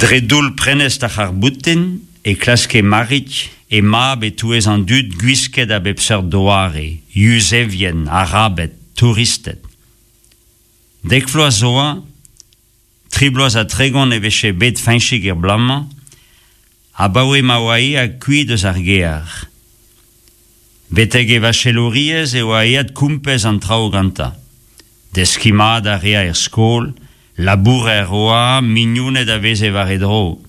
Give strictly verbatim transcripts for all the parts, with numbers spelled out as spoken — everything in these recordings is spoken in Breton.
Dre doull prenestr ar c'harr-boutin e klaske Marig he mab e-touez an dud gwisket a bep seurt doare, Yuzevien, Arabed, touristed. Dek vloaz zo oa, tri bloaz ha tregont e vije bet Feñchig er bloaz-mañ, abaoe ma oa aet kuit eus ar gêr. Betek e vachelouriezh e oa aet kompez an traoù gantañ. Deskiñ mat a rea er skol, labourer oa, mignoned a veze war e dro.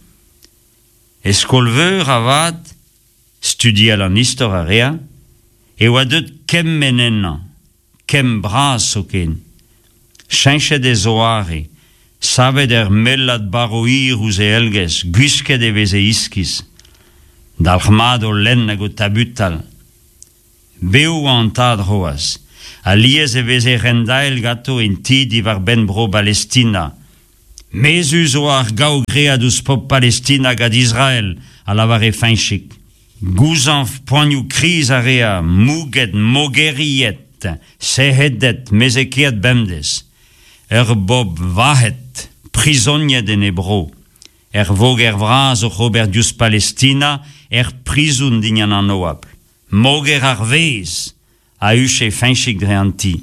E skol-veur avat, studial an istor a rea, e oa deuet kemm ennañ, kemm bras zoken. Cheñchet e zoare, savet ur mellad barv hir ouzh e elgez, gwisket e veze iskis. Dalc'hmat o lenn hag o tabutal. Bev oa an tad c'hoazh. Alies e veze rendael ganto en ti diwar-benn bro Balestina. Mezhus oa ar gaou graet ouzh pobl Palestina gant Israel, a lavare Feñchig. Gouzañv poanioù kriz a rea, mouget, mogeriet, sec'hedet, mezhekeet bemdez. Ur bobl vac'het, prizoniet en he bro. Ur voger vras oc'h ober diouzh Palestina, er prizon dindan an oabl. Moger ar vezh, a huche Feñchig dre an ti.